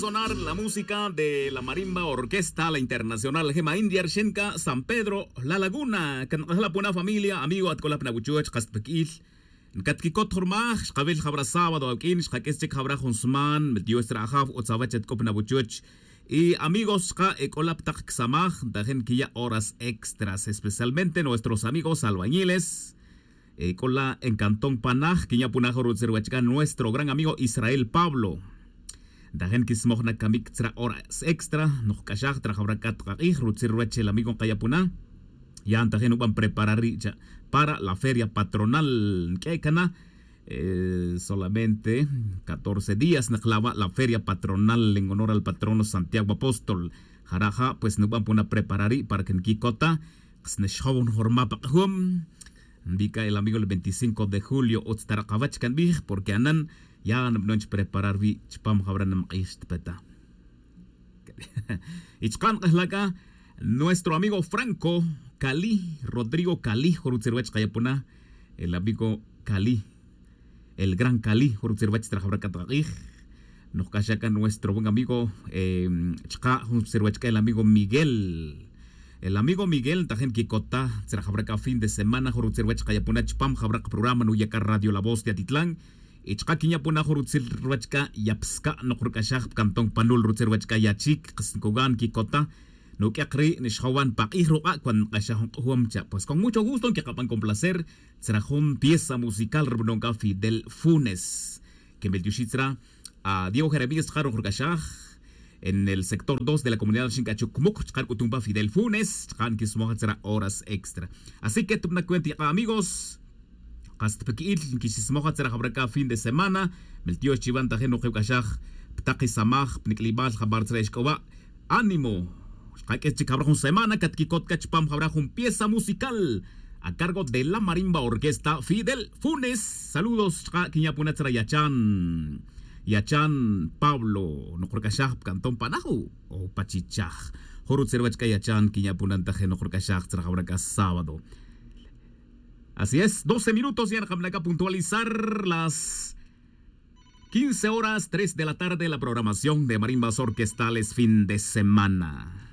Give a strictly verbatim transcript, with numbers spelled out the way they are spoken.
Sonar la música de la marimba orquesta la internacional jema india rxenca san pedro la laguna. Can k'ajla puna familia amigo at k'ola pna wuchuch qas tpik'il. Ncat quicot jurmaj xkawil jabra sábado awq'uin xkak'is chic jabra jun sman mel dios tzra ajaw utz awach at k'o pna wuchuch. Y amigos xka e k'ola ptak csamaj ntajin quiya' horas extras especialmente nuestros amigos albañiles. K'ola en cantón panaj quinya' punaj rutzil ruwach c'a nuestro gran amigo israel pablo. Ntajin quismoj na camic tzra horas extra nojc'axaj tzra jawra c'a tkak'ij rutzil ruwach el amigo nkaya' puna. Ya ntajin nuban preparar ri' cha para la feria patronal nq'e' cana. Solamente catorce días nqlawa' la feria patronal en honor al patrono santiago apóstol. Jara' ja' pues nuban puna preparar ri' para que nquicota. Kas naxjow nujorma pa k'ajum. Nbica el amigo el veinticinco de julio utz ta rak awach can bij porque anan ya nbnon chpreparar wi' chpam jawra namk'ix tpeta. Y chka' nk'ejla' c'a nuestro amigo franco cali rodrigo cali jun rutzil ruwach kaya' puna. El amigo cali el gran cali jun rutzil ruwach tzra jawra c'a tkak'ij. Nojc'axa' c'a nuestro buen amigo chka' jun rutzil ruwach c'a el amigo miguel. El amigo miguel ntajin quicota tzra jawra c'a fin de semana jun rutzil ruwach kaya' puna chpam jawra c'a programa nuya' c'a radio la voz de atitlan. Y chka' quinya' puna jun rutzil ruwach c'a yapsca' nokruc'axaj pcantón panul rutzil ruwach c'a yachic kas ncugan quicota. Nuq'uek ri' nixjowan pa k'ij ruk'a' cuando nk'axaj jun k'ujum cha' pues con mucho gusto nquikaban con placer. Tzra jun pieza musical ri b'anon c'a fidel funes. Quemel tioxi' tzra a diego jeremías chka' ruj ruk'axaj. En el sector dos de la comunidad xink'achu' cumuc chka' rc'utum pa fidel funes chka' nquismoj tzra horas extra. Así que tupna cuenta yaka' amigos. Kas tpiqui'il nquixismoj tzra jawra c'a fin de semana. Mel tiox chiwan tajin nuqibc'axaj ptak isamaj pnic'libal jabar tzra ixc'owa'. Ánimo. Xkaq'uis chic jawra jun semana catquicot c'a chupam jawra jun pieza musical a cargo de la marimba orquesta fidel funes. Saludos chka' quinya' puna tzra yachan. Yachan pablo nokrc'axaj pcantón panaju o pachichaj. Jun rutzil ruwach c'a yachan quinya' puna ntajin nokrc'axaj tzra jawra c'a sábado. Así es doce minutos ya nkamla' c'a puntualizar las quince horas tres de la tarde la programación de marimbas orquestales fin de semana.